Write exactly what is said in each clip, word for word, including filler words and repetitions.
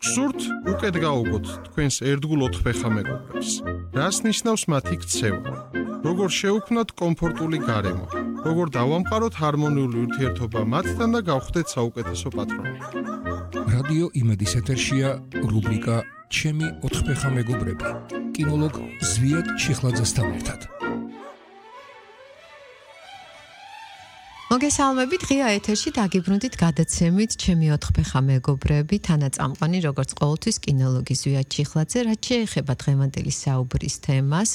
გსურთ უკეთ გაუგოთ თქვენს ერთგულ ოთხფეხა მეგობრებს. რას ნიშნავს მათი ქცევა? როგორ შეუქმნათ კომფორტული გარემო? როგორ დავამყაროთ ჰარმონიული ურთიერთობა მათთან და გავხდეთ საუკეთესო პატრონი? რადიო იმედის ეთერშია რუბრიკა ჩემი ოთხფეხა მეგობრები. კინოლოგ ზვიად ჩიხლაძესთან ერთად. მოგესალმებით, ღია ეთერში დაგიბრუნდით გადაცემით ჩემი ოთხფეხა მეგობრები, თანაწამყვანი როგორც ყოველთვის კინოლოგი ზვიად ჩიხლაძე, რაც შეეხება დღევანდელი საუბრის თემას,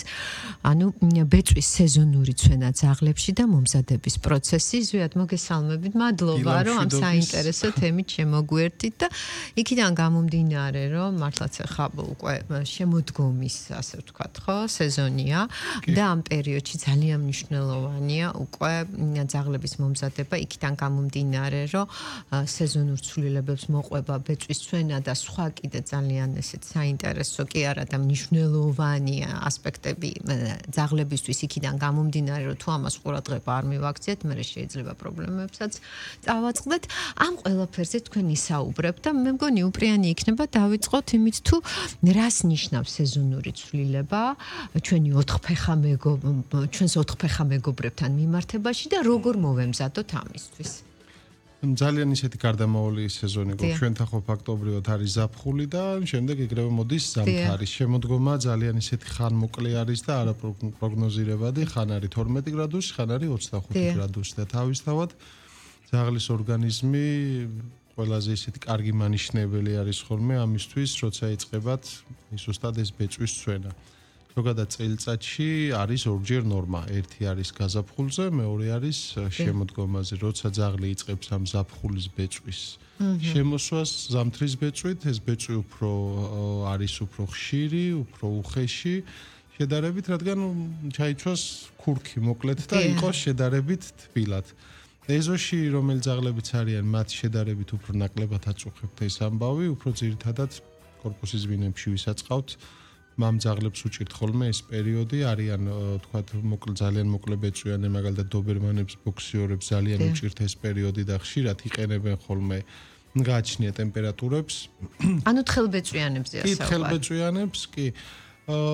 ანუ ბეწვის სეზონური ცვენა ძაღლებში და მომზადების პროცესი. ზვიად, მოგესალმებით, მადლობა, რომ ამ საინტერესო თემით შემოგვერთით და იქიდან გამომდინარე, რომ მართლაც ახლა უკვე შემოდგომის, ასე ვთქვათ, ხო, სეზონია და ამ პერიოდში ძალიან მნიშვნელოვანია უკვე ძაღლების მომზადება, იქიდან გამომდინარე, რომ სეზონურ ცვლილებებს მოყვება ბეწვის ცვენა და სხვა კიდე ძალიან ესეთ საინტერესო კი არა და მნიშვნელოვანი ასპექტები ძაღლებისთვის იქიდან გამომდინარე, რომ თუ ამას ყურადღება არ მივაქციეთ, მე შეიძლება პრობლემებსაც წავაწყდეთ. ამ ყველაფერზე თქვენ ისაუბრებთ და მე მგონი უპრიანი იქნება დავიწყოთ იმით, თუ რას ნიშნავს სეზონური ცვლილება ჩვენი ოთხფეხა მეგობრებთან, ჩვენს ოთხფეხა მეგობრებთან მიმართებაში და როგორ მოვემზადოთ ამისთვის. ძალიან ისეთი გარდამავალი სეზონი გვაქვს. ჩვენთან ხო ფაქტობრივად არის ზაფხული და შემდეგ ეგრევე მოდის ზამთარი. შემოდგომა ძალიან ისეთი ხანმოკლე არის და არაპროგნოზირებადი, ხან არის თორმეტი გრადუსი, ხან არის ოცდახუთი გრადუსი და თავისთავად ძაღლის ორგანიზმი ყველაზე ისეთი კარგი მანიშნებელი არის ხოლმე ამისთვის, როცა იწყებათ ზუსტად ეს ბეწვის ცვენა. ზოგადად წელიწადში არის ორჯერ ნორმა. ერთი არის გაზაფხულზე, მეორე არის შემოდგომაზე, როცა ძაღლი იწყებს ამ ზაფხულის ბეწვის შემოსვას ზამთრის ბეწვით, ეს ბეწვი უფრო არის უფრო ხშირი, უფრო უხეში შედარებით, რადგან ჩაიცვას ქურქი მოკლედ და იყოს შედარებით თბილად. ეზოში რომელი ძაღლებიც არიან, მათ შედარებით უფრო ნაკლებად აწუხებთ ეს ამბავი, უფრო ძირითადად კორპუსის ვინებში ვისაწყავთ. მამ ძაღლებს უჭირთ ხოლმე ეს პერიოდი, არიან თქვათ მოკლე ძალიან მოკლე ბეწვიანე, მაგალითად დობერმანებს, ბოქსიორებს ძალიან უჭირთ ეს პერიოდი და ხშირად იყენებენ ხოლმე გააჩნია ტემპერატურებს. ანუ თხელბეწვიანებზეა საუბარი. კი, თხელბეწვიანებს კი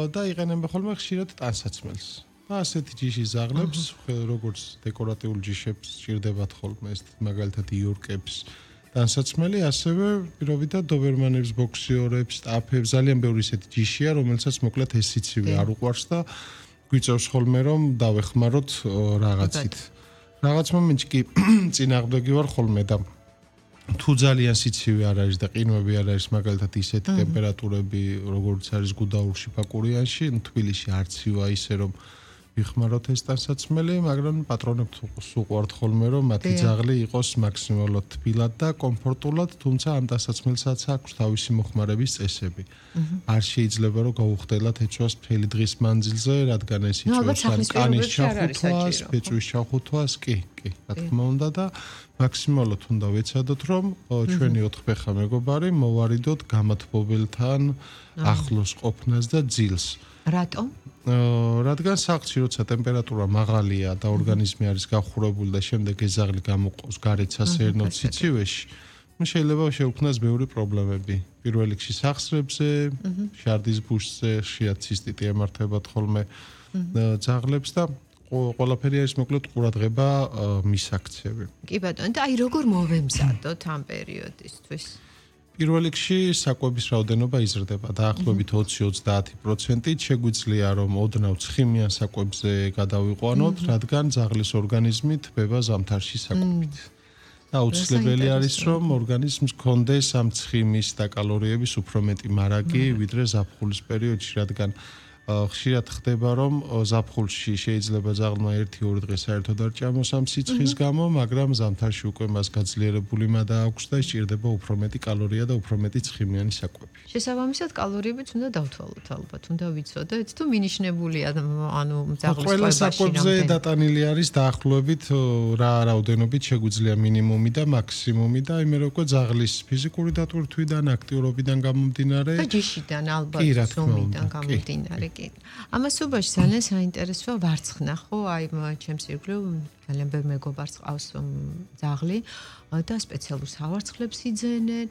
და იყენებენ ხოლმე ხშირად ტანსაცმელს. და ასეთი ჯიშის ძაღლებს, როგორც დეკორატიულ ჯიშებს ჭირდებათ ხოლმე ეს მაგალითად იორკებს ტანსაცმელი, ასევე პირობითად დობერმანებს, ბოქსიორებს, სტაფებს, ძალიან ბევრი ისეთი ჯიშია, რომელსაც მოკლედ ეს სიცივე არ უყვარს და გვიწევს ხოლმე რომ დავეხმაროთ რაღაცით. რაღაც მომენტში კი წინააღმდეგი ვარ ხოლმე და თუ ძალიან სიცივე არ არის და ყინვები არ არის, მაგალითად ისეთი ტემპერატურები, როგორც არის გუდაურში, ფაკურიანში, თბილისში არცივა ისე რომ ვიხმაროთ ეს ტანსაცმელი, მაგრამ პატრონებთ უყვართ ხოლმე რომ მათი ძაღლი იყოს მაქსიმალურად თბილად და კომფორტულად, თუმცა ამ ტანსაცმელსაც აქვს თავისი მოხმარების წესები. არ შეიძლება რომ გაუხდელად ეწვას მთელი დღის მანძილზე, რადგან ეს იწვევს კანის ჩახუთვას, ბეწვის ჩახუთვას, კი, კი, რა თქმა უნდა და მაქსიმალურად უნდა ვეცადოთ რომ ჩვენი ოთხფეხა მეგობარი მოვარიდოთ გამათბობელთან ახლოს ყოფნას და ძილს. რატომ? რადგან სახლში როცა ტემპერატურა მაღალია და ორგანიზმი არის გახურებული და შემდეგ ეს ძაღლი გამოყავს გარეთ სასეირნო ციცივეში, შეიძლება შეუქმნას ბევრი პრობლემები. პირველ რიგში სახსრებზე, შარდის ბუშზე, ხშირად ცისტიტი ემართებათ ხოლმე ძაღლებს და ყველაფერი არის მოკლედ ყურადღება მისაქცევი. კი ბატონო, და აი როგორ მოვემზადოთ ამ პერიოდისთვის? პირველ რიგში საკვების რაოდენობა იზრდება დაახლოებით ოცი-ოცდაათი პროცენტით. შეგვიძლია რომ ოდნავ ცხიმიან საკვებზე გადავიყვანოთ, რადგან ძაღლის ორგანიზმი თბება ზამთარში საკვებით. და აუცილებელი არის რომ ორგანიზმს გქონდეს ამ ცხიმის და კალორიების უფრო მეტი მარაგი, ვიდრე ზაფხულის პერიოდში, რადგან ხშირად ხდება რომ ზაფხულში შეიძლება ძაღლმა ერთი-ორი დღე საერთოდ არ ჭამოს ამ სიცხის გამო, მაგრამ ზამთარში უკვე მას გაძლიერებული მადა აქვს და სჭირდება უფრო მეტი კალორია და უფრო მეტი ცხიმიანი საკვები. შესაბამისად კალორიებიც უნდა დავთვალოთ ალბათ, უნდა ვიცოდეთ თუ მინიშნებულია ანუ ძაღლის ყველა საკვებზე დატანილი არის დაახლოებით რა რაოდენობით შეგვიძლია მინიმუმი და მაქსიმუმი და იმერე უკვე ძაღლის ფიზიკური დატვირთვიდან, აქტიურობიდან გამომდინარე და ჯიშიდან ალბათ ზომიდან გამომდინარე. ამასობაში ძალიან საინტერესოა ვარცხნა, ხო? აი ჩემს ირგვლივ ძალიან ბევრი მეგობარს ყავს ძაღლი და სპეციალურ სავარცხლებს იძენენ